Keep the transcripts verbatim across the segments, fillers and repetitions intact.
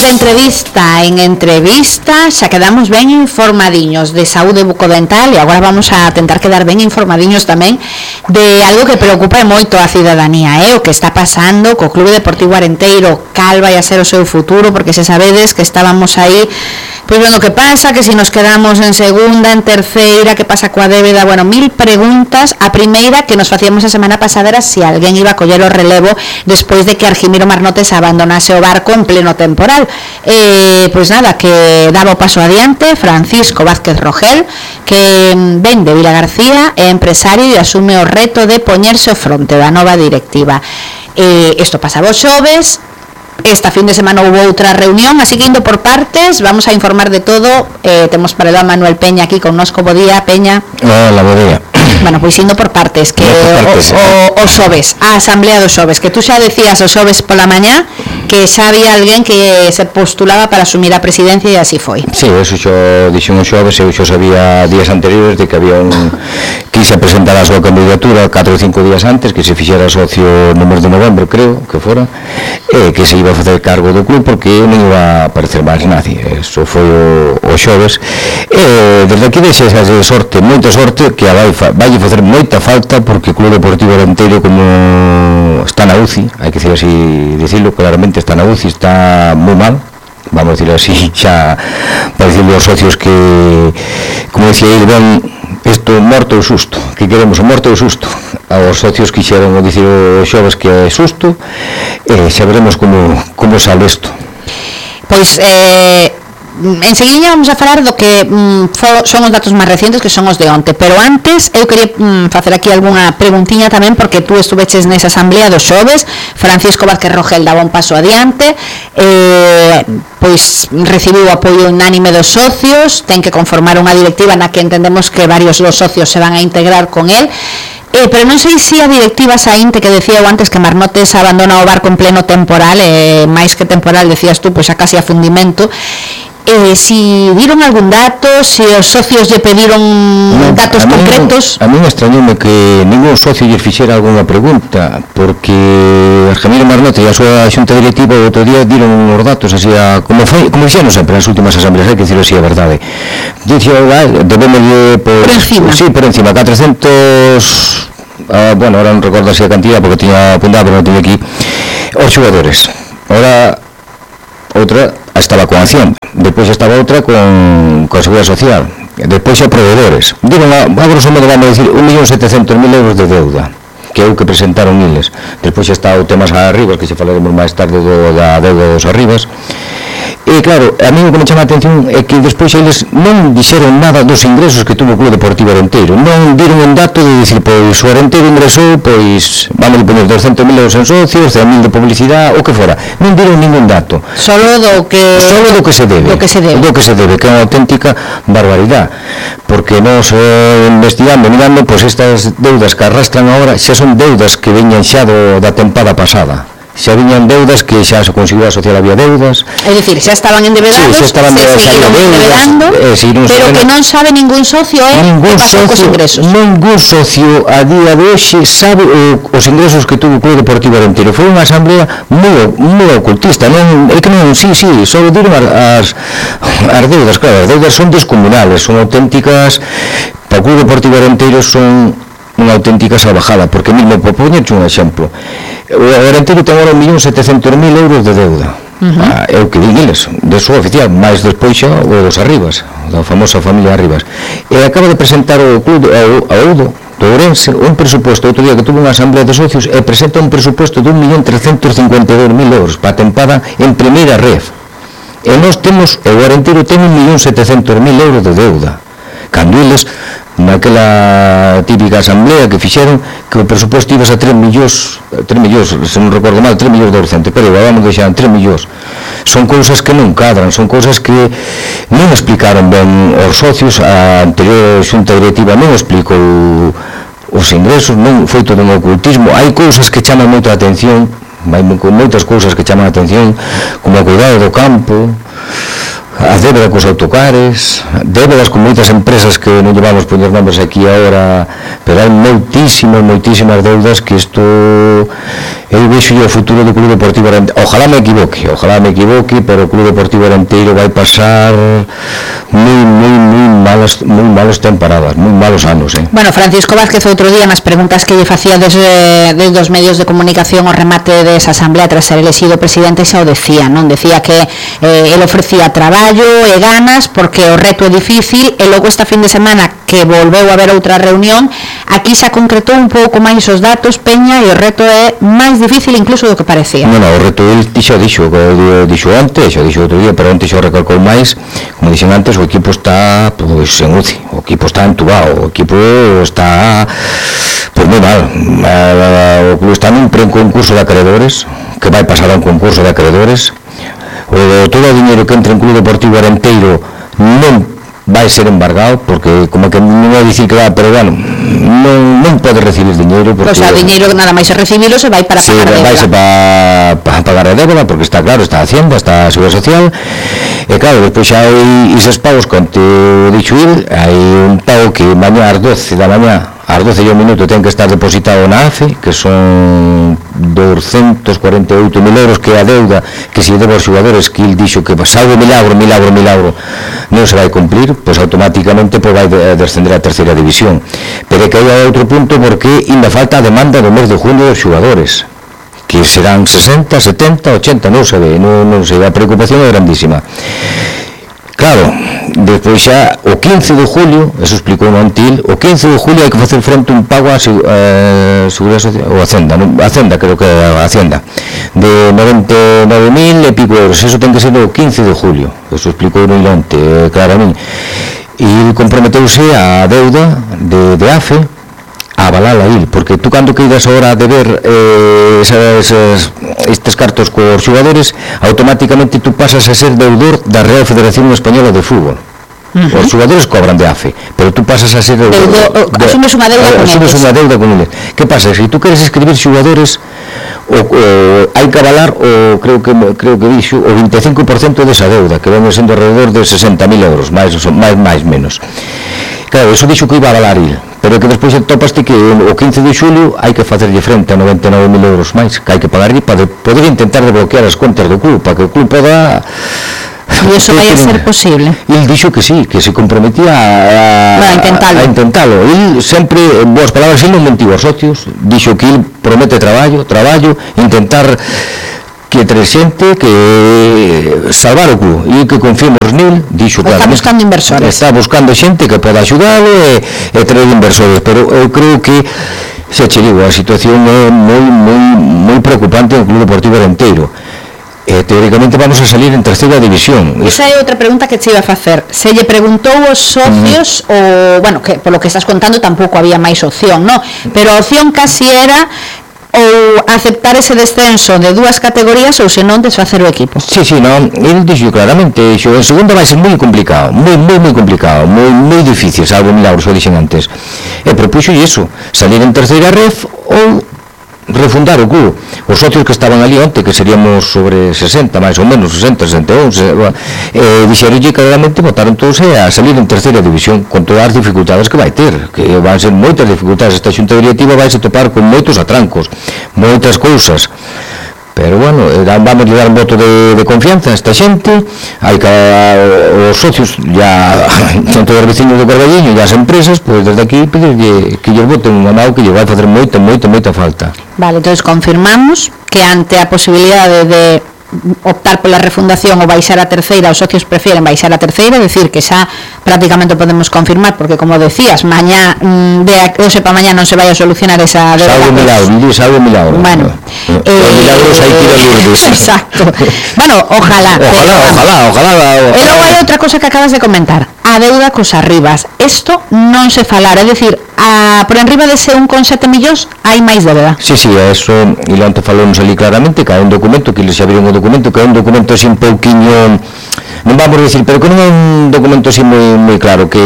de entrevista en entrevista xa quedamos ben informadiños de saúde bucodental e agora vamos a tentar quedar ben informadiños tamén de algo que preocupa moito a cidadanía, eh? O que está pasando co Clube Deportivo Arenteiro, cal vai a ser o seu futuro, porque se sabedes que estábamos aí pois vendo que pasa, que si nos quedamos en segunda, en terceira, que pasa coa débeda, bueno, mil preguntas. A primeira que nos facíamos a semana pasada era se si alguén iba a coller o relevo despois de que Argimiro Marnotes abandonase o barco en pleno temporal. Eh, pois nada, que daba o paso adiante Francisco Vázquez Rogel, que ven de Vila García, é empresario e asume o reto de poñerse ao fronte da nova directiva. Eh, isto pasaba os xoves. Esta fin de semana hubo outra reunión, así que indo por partes, vamos a informar de todo. Eh, temos para el Manuel Peña aquí con nosco. Bo día, Peña. Hola, bo día. Bueno, pois indo por partes, que por partes, o, o, o xoves, a asamblea dos xoves, que tú xa decías o xoves pola mañá que xa había alguén que se postulaba para asumir a presidencia e así foi. Sí, eso xo dixen o xoves, eu xo sabía días anteriores de que había un que se presentara a súa candidatura catro ou cinco días antes, que se fixera socio no mes de novembro, creo que fora, e que se iba a facer cargo do club porque non iba a aparecer máis nadie. Eso foi o, o xoves. E desde aquí deixe esa sorte, moita sorte, que a vai vai facer moita falta, porque o Club Deportivo Arenteiro, como está na U C I, hai que decir así, dicirlo claramente, está na U C I, está moi mal, vamos a decirlo así, xa para decirle aos socios que, como decía ele, ben, isto morto ou susto, que queremos o morto ou susto. Aos socios quixeron dicir os xoves que é susto, e xa veremos como, como sale isto. Pois, eh... enseguida vamos a falar do que mm, son os datos máis recientes, que son os de onte, pero antes eu quería mm, facer aquí algunha preguntiña tamén, porque tú estuveches nesa asamblea dos xoves. Francisco Vázquez Rogel daba un paso adiante, eh, pois recibiu o apoio unánime dos socios, ten que conformar unha directiva na que entendemos que varios dos socios se van a integrar con él. Eh, pero non sei se a directiva saínte, que decía eu antes que Marnotes abandona o barco en pleno temporal, eh, máis que temporal, decías tú, pois a casi a fundimento. Eh, si dieron algún dato, si os socios lle pediron no, datos a concretos. Mí, a mí me extrañoume que ningún socio lle fixera algunha pregunta, porque Argimiro Marnotes e a súa xunta directiva o outro día dieron uns datos así a, como foi, como dixeron sempre nas últimas asambleas, hai que dicirlo así, a verdade. Dixo, debemos de por, por encima. Sí, por encima, catrocentos, ah, bueno, ahora non recordo así a cantidad porque tiña apuntado, pero non tiña aquí, os xogadores. Ahora outra estaba con Acción, despois estaba outra con, con Seguridade Social, despois xa proveedores. Diron, a, a grosso modo vamos a decir un millón setecentos mil euros de deuda, que é o que presentaron eles. Despois xa está o tema a Arribas, que xa falaremos máis tarde do, da deuda dos Arribas. E claro, a mí o que me chama a atención é que despois eles non dixeron nada dos ingresos que tuvo o Club Deportivo Arenteiro. Non diron un dato de dicir, pois o Arenteiro ingresou, pois vamos a poner doscientos mil euros en socios, cen mil de publicidade, o que fora. Non diron ningún dato. Solo do que Solo do que se debe. Do que se debe. Do que se debe, que é unha auténtica barbaridade. Porque nos eh, investigando, mirando, pois estas deudas que arrastran agora xa son deudas que veñan xa do, da tempada pasada. Xa viñan deudas que xa se conseguiu asociar, había deudas. É dicir, xa estaban endebedados, sí, xa estaban se seguiron endebedando, eh, si pero sabendo, que non sabe ningún socio é eh, que pasou cos ingresos. Ningún socio a día de hoxe sabe o, os ingresos que tuvo o Club Deportivo Arenteiro. Foi unha asamblea moi, moi ocultista, non, é que non, sí, sí, só diron as, as deudas, claro, as deudas son descomunales, son auténticas, para o Club Deportivo Arenteiro son unha auténtica salvajada, porque mesmo, por poñerche un exemplo, o Arenteiro ten agora un millón setecentos mil euros de deuda. Uh-huh. Ah, é o que din eles, de súa oficial, máis despois xa o dos Arribas, da famosa familia Arribas. E acaba de presentar o club, a Oudo, do Ourense, un presuposto, outro día que tuvo unha asamblea de socios, e presenta un presuposto de un millón trescentos cincuenta e dous mil euros para a tempada en primeira ref. E nós temos, o Arenteiro ten un millón setecentos mil euros de deuda. Cando eles, naquela típica asamblea que fixeron, que o presuposto ibas a tres millóns, tres millóns, se non recordo mal, tres millóns de orzente, pero vamos deixar tres millóns. Son cousas que non cadran, son cousas que non explicaron ben os socios. A anterior xunta directiva non explicou os ingresos, non foi todo un ocultismo. Hai cousas que chaman moito a atención, hai moitas cousas que chaman a atención, como o cuidado do campo, a débeda cos autocares, débedas con moitas empresas que non llevamos poñer nombres aquí agora, pero hai moitísimas, moitísimas deudas que isto eu vexo o futuro do Club Deportivo Arenteiro. Ojalá me equivoque, ojalá me equivoque, pero o Club Deportivo Arenteiro vai pasar moi, moi, moi malas, moi malas temporadas, moi malos anos, eh. Bueno, Francisco Vázquez outro día nas preguntas que lle facía desde, desde os medios de comunicación ao remate desa asamblea tras ser elegido presidente xa o decía, non? Decía que eh, el ofrecía traballo e ganas porque o reto é difícil e logo esta fin de semana que volveu a haber outra reunión aquí xa concretou un pouco máis os datos, Peña, e o reto é máis difícil incluso do que parecía. Non, non, o reto el dixo, dixo, dixo antes, xo dixo outro día, pero antes xo recalcou máis, como dixen antes, o equipo está pois en U C I, o equipo está entubado, o equipo está pois moi mal, o club está nun concurso de acreedores, que vai pasar a un concurso de acreedores, o, todo o dinheiro que entra en Club Deportivo Arenteiro non vai ser embargado, porque como que non vai dicir que va, pero bueno, non, non pode recibir dinheiro porque... O sea, o dinheiro nada máis se recibilo se vai para sí, pagar a débeda. Sí, vai para pa pagar a débeda, porque está claro, está a Hacienda, está a Seguridade Social, e claro, despois xa hai eses pagos con te dixo ir, hai un pago que mañá ás doce da mañá, ás doce e un minuto ten que estar depositado na A F E, que son doscientos cuarenta e oito mil euros, que é a deuda que se debe aos xogadores, que il dixo que salvo milagro, milagro, milagro non se vai cumplir, pois automáticamente pois vai descender a terceira división. Pero que hai outro punto porque ainda falta a demanda do mes de junio dos xogadores, que serán sesenta, setenta, ochenta, non se ve, non, non se ve, a preocupación é grandísima. Claro, despois xa o quince de julio, eso explicou no Antil, o quince de julio hai que facer frente un pago a eh, Seguridade Social, ou Hacienda, non? Hacienda, creo que é a Hacienda, de noventa e nove mil e pico euros, eso ten que ser o quince de julio, eso explicou no Ilante, eh, claramente, e comprometeuse a deuda de, de A F E a avalala il, porque tú cando queiras ahora de ver eh, esas, esas, estes cartos cos xogadores, automáticamente tú pasas a ser deudor da Real Federación Española de Fútbol. Uh-huh. Os xogadores cobran de A F E, pero tú pasas a ser deudor, Deudo, de, asumes unha deuda con asumes eles. unha deuda con eles. Que pasa? Se tú queres escribir xogadores, o, o, hai que avalar o, creo que creo que dixo, o vinte e cinco por ciento desa deuda, que ven sendo alrededor de sesenta mil euros, máis, máis, máis, menos. Claro, eso dixo que iba a avalar il, pero que despois topaste que o quince de xulio hai que facerlle frente a noventa e nove mil euros máis que hai que pagar para poder intentar desbloquear as contas do club, para que o club poda... E iso vai a ser posible? Il dixo que sí, que se comprometía a, a, a intentalo. A intentalo. Il sempre, en boas palabras, il non mentiu aos socios, dixo que il promete traballo, traballo, intentar que tres xente que salvar o club e que confiemos nil, dixo que está buscando inversores, está buscando xente que poda axudalo e, e traer inversores, pero eu creo que se che digo, a situación é moi moi moi preocupante no Club Deportivo Arenteiro. Eh, teóricamente vamos a salir en terceira división. Esa é outra pregunta que te iba a facer. Se lle preguntou aos socios, uh-huh. o, bueno, que por lo que estás contando tampouco había máis opción, ¿no? Pero a opción casi era ou aceptar ese descenso de dúas categorías ou senón desfacer o equipo. Sí, sí, non, ele dixo claramente, dixo, en segunda vai ser moi complicado, moi, moi, moi complicado, moi, moi difícil, salvo milagros, o dixen antes. E propuxo iso, salir en terceira ref ou refundar o club. Os socios que estaban ali onte, que seríamos sobre sesenta, máis ou menos, sesenta, sesenta e un, eh, dixeronlle claramente, votaron todos a salir en terceira división, con todas as dificultades que vai ter, que van ser moitas dificultades. Esta xunta directiva vai se topar con moitos atrancos, moitas cousas. Pero bueno, vamos a dar un voto de, de confianza a esta xente, hai que a, os socios ya son todos os vecinos do Carballiño e as empresas, pois desde aquí pedirlle que lles voten un amado que lle vai facer moita, moita, moita falta. Vale, entonces confirmamos que ante a posibilidade de optar pola refundación ou baixar a terceira, os socios prefieren baixar a terceira, decir que xa prácticamente podemos confirmar, porque como decías, mañá de hoxe para mañá non se vai a solucionar esa deuda. Salvo milagro, dices algo milagro. Bueno, eh, eh, milagros hai que ir a Lourdes. Exacto. Bueno, ojalá. Ojalá, ojalá, ojalá. E logo hai outra cosa que acabas de comentar, a deuda cos arribas. Isto non se falar, é dicir, a, por enriba dese un coma sete millóns hai máis débeda. Sí, sí, eso, e lo antes falamos ali claramente, que hai un documento, que eles xa viron o documento, que é un documento así un pouquiño, non vamos a decir, pero que non é un documento así moi, moi claro, que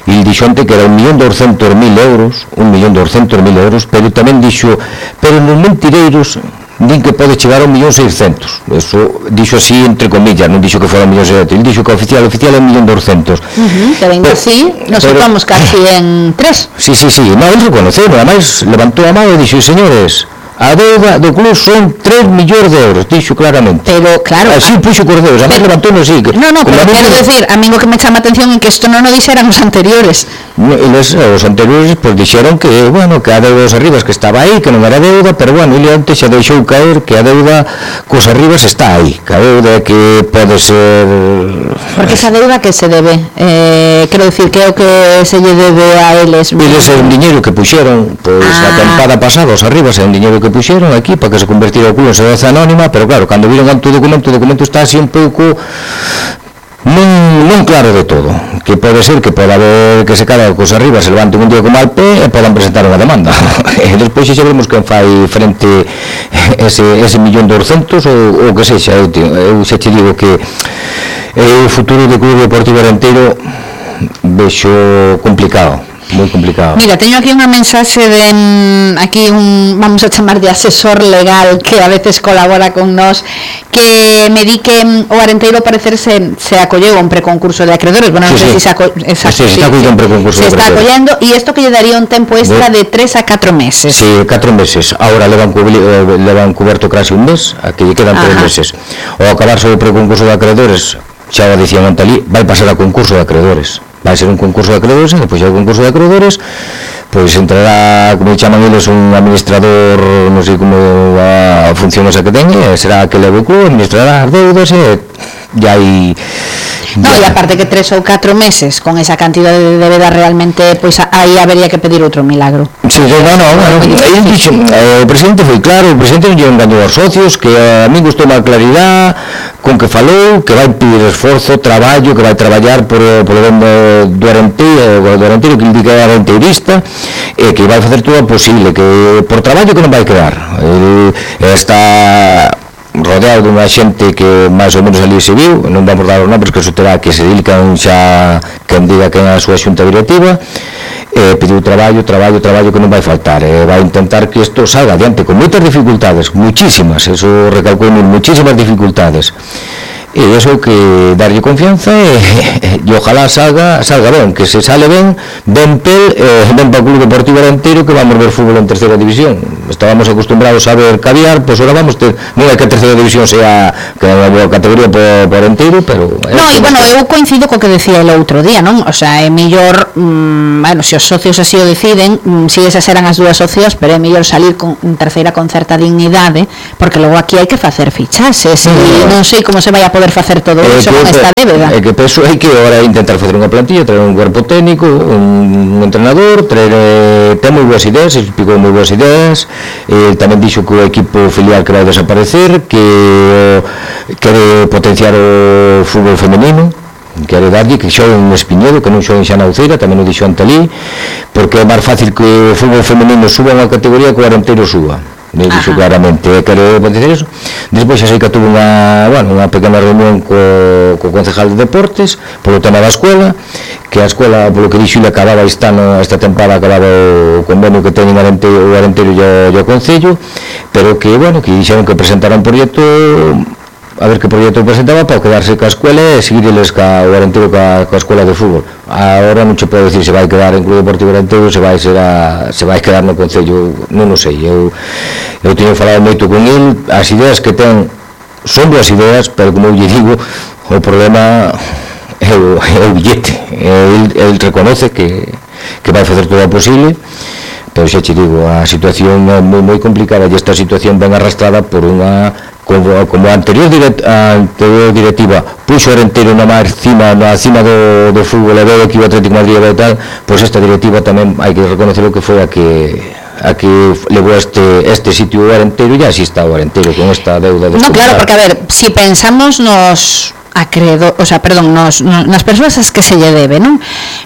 il dixo ante que era un millón doscientos mil euros, un millón doscientos mil euros, pero tamén dixo, pero nos mentireiros din que pode chegar a un millón seiscentos. Eso dixo así entre comillas, non dixo que fora un millón seiscentos, el dixo que oficial oficial é un millón doscientos. Uh-huh, que venga así, nos tocamos casi en tres. Sí, sí, sí, non, el reconoceu, ademais levantou a mão e dixo, señores, a deuda do club son tres millóns de euros, dixo claramente. Pero, claro... Así puxo Cordeos, además levantou no sí. Que, no, no, pero quero decir, a mí o que me chama a atención é que isto non o dixeran os anteriores. No, eles, os anteriores, pues, dixeron que, bueno, que a deuda dos arribas que estaba aí, que non era deuda, pero, bueno, ele antes xa deixou caer que a deuda cos arribas está aí, que a deuda que pode ser... Porque esa deuda que se debe, eh, quero decir, que é o que se lle debe a eles? Eles é un diñeiro que puxeron, pois, pues, ah. a tempada pasada, os arribas é un diñeiro que puxeron aquí para que se convertira o club en sociedade anónima, pero claro, cando viron tanto documento, o documento está así un pouco non, non claro de todo, que pode ser que pode haber que se cada cos arriba se levanten un día con mal pé e podan presentar unha demanda e despois xa veremos quen fai frente ese, ese millón doscientos ou o que sexa. Eu, eu xa te digo que o futuro do Club Deportivo Arenteiro vexo complicado, moi complicado. Mira, teño aquí unha mensaxe de aquí un, vamos a chamar de asesor legal que a veces colabora con nós, que me di que o Arenteiro parecer se, se acolleu a un preconcurso de acreedores. Bueno, non sí, sei sí. se se aco, exacto, sí, sí, se está acollendo un preconcurso se de está acollendo, e isto que lle daría un tempo extra de tres a catro meses. Sí, catro meses. Ahora levan, levan cuberto casi un mes, a que lle quedan tres meses. O acabarse o preconcurso de acreedores, xa o dicían antalí, vai pasar a concurso de acreedores. Vai ser un concurso de acreedores, e depois do concurso de acreedores, pois entrará, como chaman eles, un administrador, non sei como a función esa que ten, e será que leve o club, administrará as deudas, e ya hai... No, e aparte que tres ou catro meses con esa cantidad de débeda realmente, pois aí habería que pedir outro milagro. Sí, no, no, bueno, el dixo, eh, o presidente foi claro, o presidente non lle engañou aos socios, que a mí gustou má claridade con que falou, que vai pedir esforzo, traballo, que vai traballar por, por o ben do Arenteiro, do Arenteiro, que indica a arenteirista, e que vai facer todo o posible, que por traballo que non vai quedar. Ele está rodeado dunha xente que máis ou menos ali se viu, non vamos dar os nombres, que eso terá que se dedican xa quen diga que é a súa xunta directiva, e pediu traballo, traballo, traballo que non vai faltar, e vai intentar que isto salga adiante con moitas dificultades, muchísimas, eso recalcou muchísimas dificultades, e iso que darlle confianza e, e ojalá salga salga ben, que se sale ben ben pel, eh, ben para o Club Deportivo Arenteiro, que vamos ver fútbol en terceira división. Estábamos acostumbrados a ver caviar, pois ahora vamos ter, non é que a terceira división sea que é unha boa categoría por, por Arenteiro, pero no, e bueno, eu coincido co que decía el outro día, non? O sea, é mellor, mmm, bueno, se os socios así o deciden, mmm, si esas eran as dúas socias, pero é mellor salir con en terceira con certa dignidade, porque logo aquí hai que facer fichases, e non sei como se vai a poder facer todo eh, iso con esta débeda. É que penso é que agora intentar facer unha plantilla, traer un cuerpo técnico, un, un entrenador, traer, eh, ten moi boas ideas, explicou moi boas ideas, eh, tamén dixo que o equipo filial que vai desaparecer, que quere potenciar o fútbol femenino, quere darlle que xoen en Espiñedo, que non xoen xa na Uceira, tamén o dixo Antalí, porque é máis fácil que o fútbol femenino suba unha categoría que o Arenteiro suba. Me dixo claramente, quero potenciar eso. Despois xa sei que tuve unha, bueno, unha pequena reunión co, co concejal de deportes polo tema da escola, que a escola, polo que dixo, le acababa este ano, esta temporada acababa o convenio que teñen o Arenteiro, o Arenteiro e o Concello, pero que, bueno, que dixeron que presentaran un proxecto, a ver que proxecto presentaba para quedarse ca escuela e seguirles ca o Arenteiro ca, ca escuela de fútbol. Agora non se pode decir se vai quedar en Club Deportivo Arenteiro, se vai ser a, se vai quedar no Concello, non o sei. Eu eu teño falado moito con el, as ideas que ten son boas ideas, pero como eu lle digo, o problema é o, é o billete. El, el reconoce que que vai facer todo o posible, pero xa te digo, a situación é moi, moi complicada, e esta situación ben arrastrada por unha, como, como a anterior, direct, a anterior directiva puxo o Arenteiro na máis cima, na cima do, do fútbol, e veo que o Atlético de Madrid e tal, pois esta directiva tamén hai que reconocer o que foi a que a que levou este este sitio o Arenteiro, e así está o Arenteiro con esta deuda de... No, claro, porque a ver, si pensamos nos acreedor, o sea, perdón, nos, nos, nas persoas as que se lle debe, non?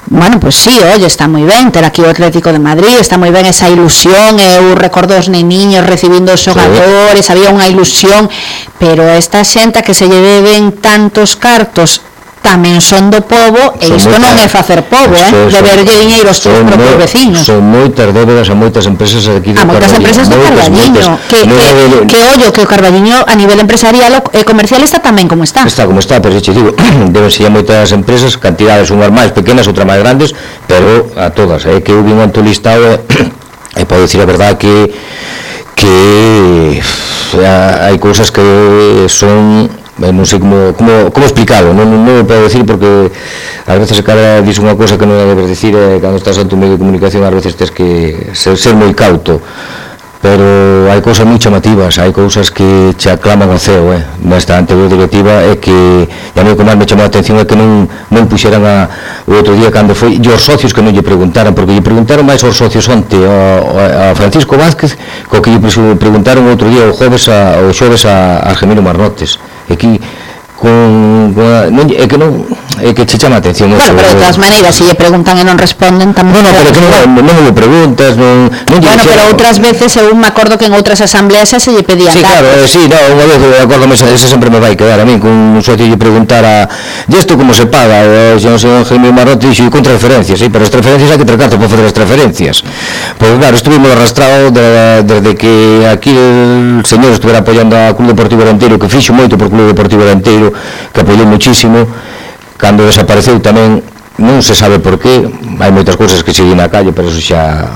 Bueno, pois pues sí, oye, está moi ben ter aquí o Atlético de Madrid, está moi ben esa ilusión, eu recordo os neniños recibindo os xogadores, sí. Había unha ilusión, pero esta xente que se lle deben tantos cartos tamén son do pobo, e isto non é facer pobo, eh, de verlle diñeiro aos seus propios veciños. Son moitas débedas a moitas empresas aquí do Carballiño. A moitas empresas do Carballiño, que, que, que ollo, que o Carballiño a nivel empresarial e comercial está tamén como está. Está como está, pero xe digo, deben ser moitas empresas, cantidades unhas máis pequenas, outras máis grandes, pero a todas, é eh, que eu vin un listado e podo dicir a verdade que que hai cousas que son, non sei como, como, como explicarlo, non, non o podo decir porque ás veces cada diz unha cosa que non debes decir, e cando estás en tu medio de comunicación ás veces tens que ser, ser moi cauto, pero hai cousas moi chamativas, hai cousas que che aclaman ao ceo, eh, nesta anterior directiva, é que e a mí o que máis me chamou a atención é que non, non puxeran a, o outro día cando foi, e os socios que non lle preguntaran, porque lle preguntaron máis aos socios onte, a, a Francisco Vázquez, co que lle preguntaron o outro día, o xoves a, o xoves a, a Argemiro Marnotes, e aquí con, con a, non, é que non é que che chama a atención. Bueno, pero de todas maneiras, se lle preguntan e non responden tamén. Bueno, pero que non, non me preguntas, non, non bueno, pero outras veces eu me acordo que en outras asambleas se lle pedían. Sí, claro, eh, sí, no, unha vez eu acordo, ese sempre me vai quedar a mí, con un socio lle preguntara e isto como se paga, o señor Jaime Marrote dixo, con transferencias, sí, pero as transferencias hai que ter cartas para facer as transferencias. Pois claro, estuvimos arrastrados de, desde que aquí el señor estuviera apoiando a Club Deportivo Arenteiro, que fixo moito por Club Deportivo Arenteiro, que apoiou muchísimo. Cando desapareceu tamén non se sabe por qué, hai moitas cousas que siguen na calle, pero eso xa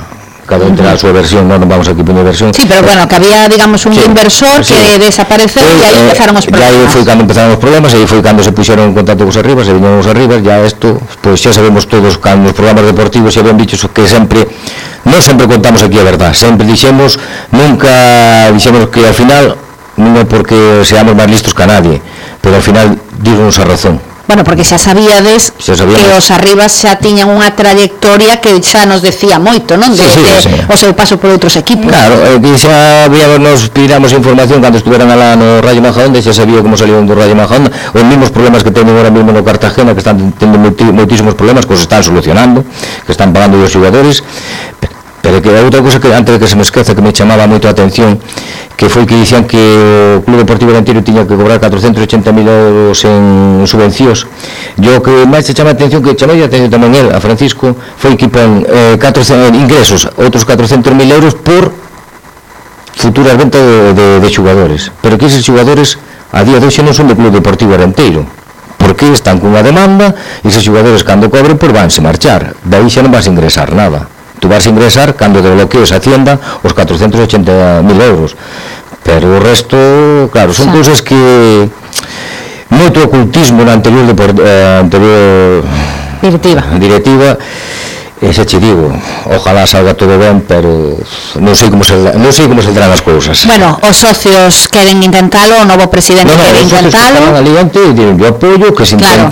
cada un terá a súa versión, non vamos aquí poñer versión. Sí, pero bueno, que había, digamos, un sí, inversor sí, que desapareceu e aí eh, empezaron os problemas. E aí foi cando empezaron os problemas, e aí foi cando se puxeron en contacto cos arribas, e viñeron os arribas, ya isto, pois xa sabemos todos, cando os programas deportivos xa habían dicho que sempre, non sempre contamos aquí a verdad, sempre dixemos, nunca dixemos que ao final, non é porque seamos máis listos que a nadie, pero ao final dígonos a razón. Bueno, porque xa sabíades xa que os arribas xa tiñan unha trayectoria que xa nos decía moito, non? De, sí, sí, sí. De o seu paso por outros equipos. Claro, eh, que xa habíamos, nos pidiéramos información cando estuveran alá no Rayo Majadahonda, xa sabía como salieron do Rayo Majadahonda, os mesmos problemas que teñen ahora mesmo no Cartagena, que están tendo moitísimos problemas, que os están solucionando, que están pagando os xogadores. Pero que outra cousa que antes de que se me esqueza que me chamaba moito a atención, que foi que dicían que o Club Deportivo Arenteiro tiña que cobrar catrocentos e ochenta mil euros en subvencións. Yo que máis se chama a atención, que chamei a atención tamén el, a Francisco, foi que pon eh, catrocentos ingresos, outros catrocentos mil euros por futuras ventas de, de, de xugadores. Pero que eses xugadores a día de hoxe non son do Club Deportivo Arenteiro, porque están cunha demanda e eses xugadores cando cobren por vanse marchar, daí xa non vas a ingresar nada. Tú vas a ingresar cando te bloquees a Hacienda os catrocentos e ochenta mil euros, pero o resto, claro, son sí. Cousas que moito ocultismo na anterior, deport, eh, anterior directiva, directiva e xa che digo, ojalá salga todo ben, pero non sei como se, non sei como saldrán as cousas. Bueno, os socios queren intentalo, o novo presidente no, no, quere intentalo. No, os socios que estaban ali antes, yo apoio que se intente. Claro.